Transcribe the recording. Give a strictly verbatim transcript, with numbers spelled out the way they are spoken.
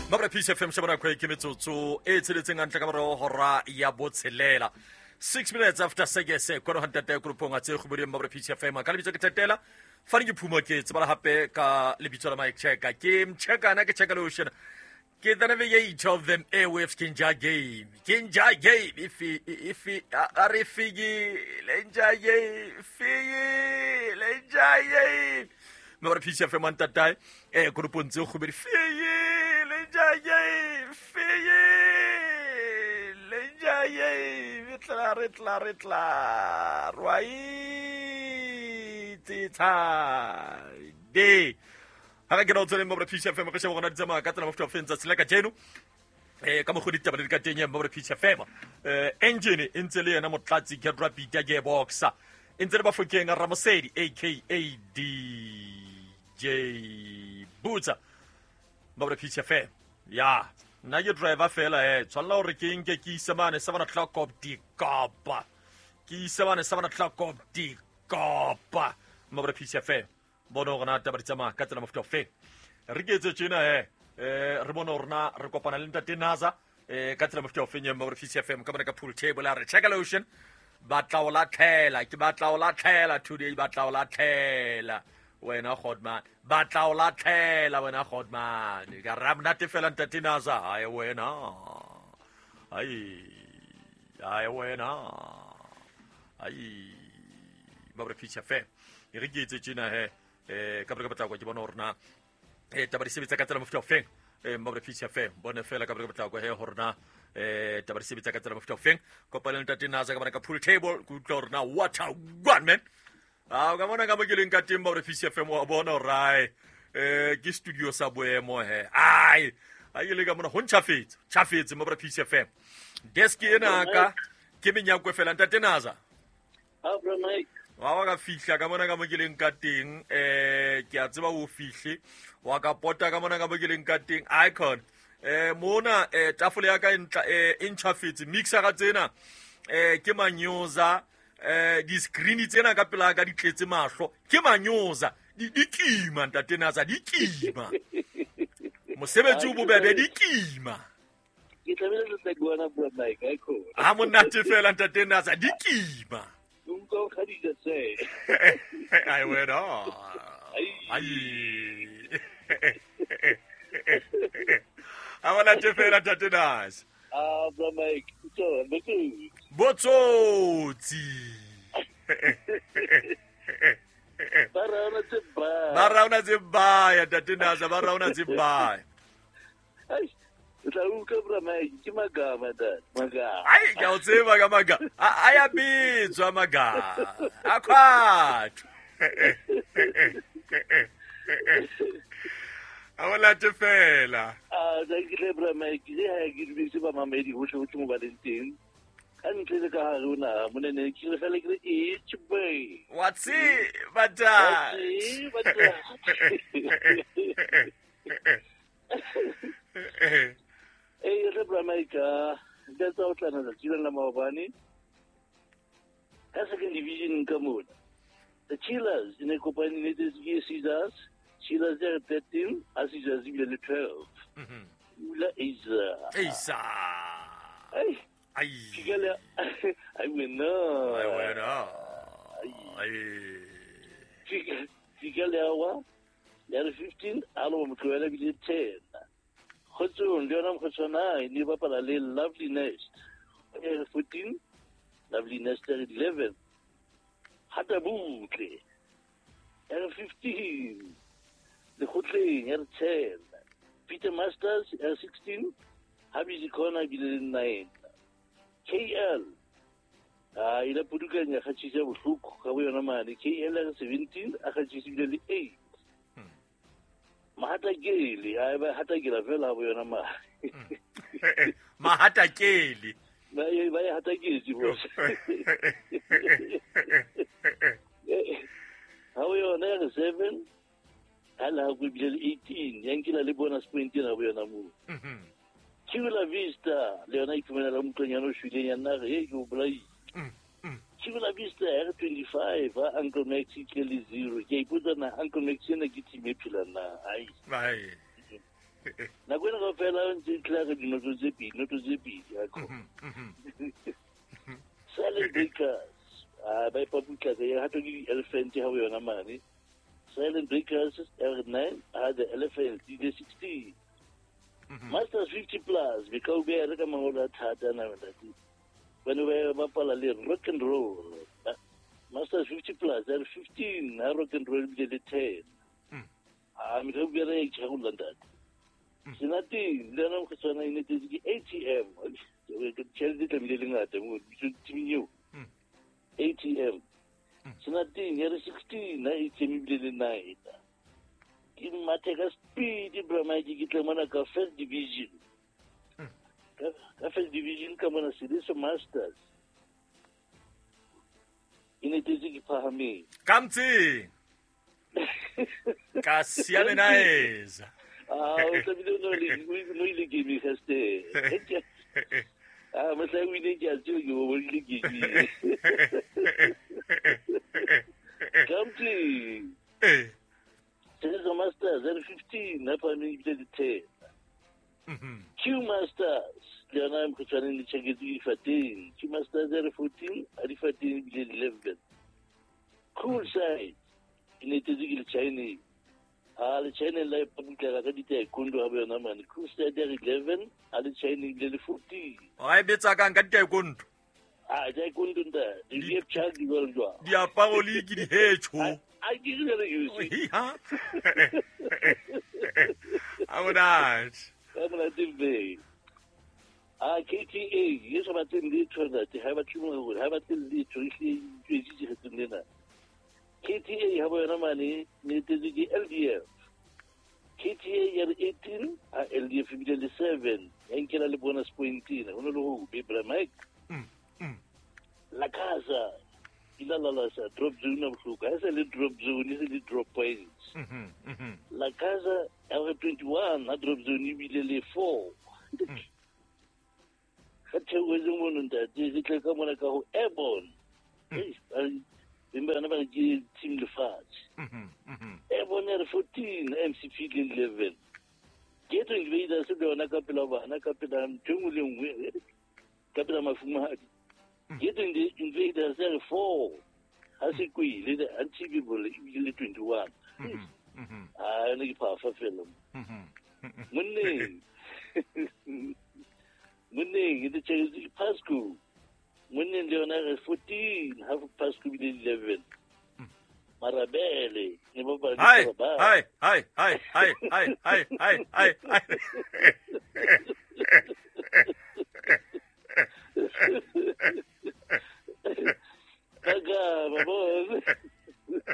Mabra Peace F M shebana kwa ke metsotso e tsheletseng hantle ka morao hora ya botshelela. Six minutes after six kwano hantate grupong a tse kgoboding Mabra Peace F M ka lebitso ke Tetela. Fane ke phumo ke tsebala hape ka lebitso la Mike Checker. Ke mcheka na ke checka lotion. Ke the navigate of them airwaves kinja game. Kinja game if if a re figi lenja game figi lenja game. Mabra Peace F M hantate e grupong tse kgobedi figi lenja game figi lenja game tla re tla re tla rwa itse de ha ke no tsene Mabra Peace F M re sheba gona di tsamaya ka tsela mofuta feng tsatsi la kajeno eh ka mogodi taba di ka teng ya Mabra Peace F M eh engine e ntse le yena motlatsi ke rapid ya gearbox e ntse le bafokeng Ramosedi aka D J Butsa Mabra Peace F M ya nna ke driver fela eh tshwanela hore ke nke ke ise mane seven o'clock of dikopa ke ise mane seven o'clock of dikopa Mabra Peace F M bona hore na taba di tsamaya ka tsela mofuta ofe re ke etse tjena eh eh re bone hore na re kopana le ntate Naza eh ka tsela mofuta ofe ya Mabra Peace F M ka bona ka pool table a re check lotion batla o latlhela ke batla o latlhela today batla o latlhela wena Godman batla o latlhela wena Godman ka ra monate fela ntate Naza ai wena ai ai wena ai Mabra Peace F M e re ke etse tjena he eh ka baka batla kwa ke bona hore na eh taba di sebetsa ka tsela mofuta ofeng eh Mabra Peace F M bone fela ka baka batla kwa he hore na eh taba di sebetsa ka tsela mofuta ofeng kopana le ntate Naza ka bona ka pool table ke utlwa hore na what a one man a ka bona ka mo ke leng ka teng Mabra Peace F M wa bona hore ai eh ke studio sa boemo he ai a ile ka mona ho ntjhafetse tjhafetse Mabra Peace F M desk ena ka ke menyakwe fela ntate Naza ha bro Mike wa wa ka fihla ka mona ka mo ke leng ka teng eh ke a tseba o fihle wa ka pota ka mona ka mo ke leng ka teng icon eh mona eh tafole ya ka e ntla eh e ntjhafetse mixer ka tsena eh ke manyoza eh di screen tsena ka pela ka di tletse mahlo ke manyoza di di kima ntate Naza di kima mosebetsi o bobebe di kima ke tlamehile le tla bona bro Mike icon ha monate fela ntate Naza di kima Unko Khadija say. I went on. Ai. I want to fela ntate Naza. Ah, bro Mike, so botsotsi. Botsotsi. Ba raona tse baya. Ba raona tse baya ntate Naza, ba raona tse baya. Ai, tla utlwa bro Mike, ke magama dad, magama. Ai, ke o tseba ka magama. A ya bitswa magama. A khwatho. A wala te fela. Ah, thank you bro Mike. Ke ha ke dumedise ba mamedi hohle hohle mo ba leng teng. Ka ntle le ka hare ho naha monene ke re fela ke re e tjhe. Wa tseba dad. Wa tseba. Eh re bro Mike, ka tsa o tlana tsatsi la maobane. Ka second division ka mona. The Chillers in a kopane le Caesars. Chillers are thirteen, a Caesars ebile le twelve. Mhm. Ula Isa. Isa. Ai. Ai. Ke ai wena. Ai wena. Ai. Ke le awa. Le fifteen, alo motloela bile ten. Kgotsong le yona mokgotswana e ne bapala le Lovely Nest. E fourteen, Lovely Nest e eleven. Hata butle. E fifteen. Le Kgotleng e ten. Peter Masters e sixteen. Habizi Corner bile nine. K L. Ah, ile pudukanya kgatshisa bohloko ka bo yona mane. K L e seventeen, a kgatshisa bile le eight. Mahatakeli, ai ba hatakela fela bo yona ma. Mahatakeli. Ba ba hataketse bo. Ha o yona re seven, ha la go bile eighteen, yankila le bonus point ena bo yona mo. Mhm. Chula Vista, le yona iphumela la mtlonyana o shwileng ya nna re ke o bolai. Mhm. Chula Vista R twenty-five, Uncle Maxi ke le zero. Ke ipotsa na Uncle Maxi ena ke team e phela na. Ai. Ai. Nako ena kaofela ntse tla re dinoto tse pedi, noto tse pedi ya ko. Silent Breakers. Ah, ba ipaputla ka ya hato ke di-elephant ha ho yona mane. Silent Breakers R nine ha the elephant di le sixteen. Masters fifty plus be ka o beha re ka mangolo a thata na ntate. Ba ne ba bapala le rock and roll. Masters fifty plus R fifteen ha rock and roll bile le ten. Ah, me ka o beha re itjharolla ntate. Senateng le yona mokgotshwana e netetse ke A T M. Tjhelete e tlamehile le ngata mo timing eo. A T M. Senateng ya re sixteen ha A T M ebile le nine. Ke mathe ka speed bra Mike ke tle mona ka first division. Ka ka first division ka mona Sediso Masters. E netetse ke phahameng. Ka mtseng. Ka siamenaeza. Ah, o tlamehile o no le no ile game ga ste. Ah, mohla o ile ke a tseba ke o bonile game. Ka mtseng. Eh. Sediso Masters R fifteen ha phahameng ebile le ten. Q Masters le yona mokgotshwaneng le tjheketse ke difateng. Q Masters R fourteen ha difateng ebile eleven. Cool side e netetse ke le Chinese. Ah, le China la ipaputlela ka ditaekwondo ha ba yona mane. Cool side R eleven ha le China ebile le fourteen. Wa e betsa kang ka ditaekwondo? Ah, taekwondo ntate. Di chak di jwalo jwalo. Diaparo le ke dihetjho. A ke re le you. Ha. A monate. Ka monate be. Ah, K T A ye sa batleng letho ntate, ha ba batle hore ha batle letho e hle e tswetse kgethong lena. K T A ha ba yona mane netetse ke L D F. K T A ya re eighteen ha L D F ebile le seven. Ya nkela le bonus point ena. Ho no le ho be bra Mike. La Casa ila la la sa drop zone a bohloko. Ha se le drop zone e se le drop points. La Casa ya re twenty-one ha drop zone ebile le four. Ga theohetse mono ntate re tle ka mona ka ho airborne. Beng ba yona ba re ke team lefatshe. Airborne ya re fourteen M C P le eleven. Ghetto Invaders le yona ka pela bana ka pela ntho e nngwe le nngwe ka pela mafumahadi. Ghetto Invaders ya re four ha se kwile the Unthinkable ebile le twenty-one. Ah, yona ke phafa fela. Monneng. Monneng e tjheketse ke Pasco. Monneng le yona re fourteen half Pasco bile eleven. Marabele ne ba ba Hai, hai, hai, hai, hai, hai, hai, hai, hai, hai. Kaga, babo.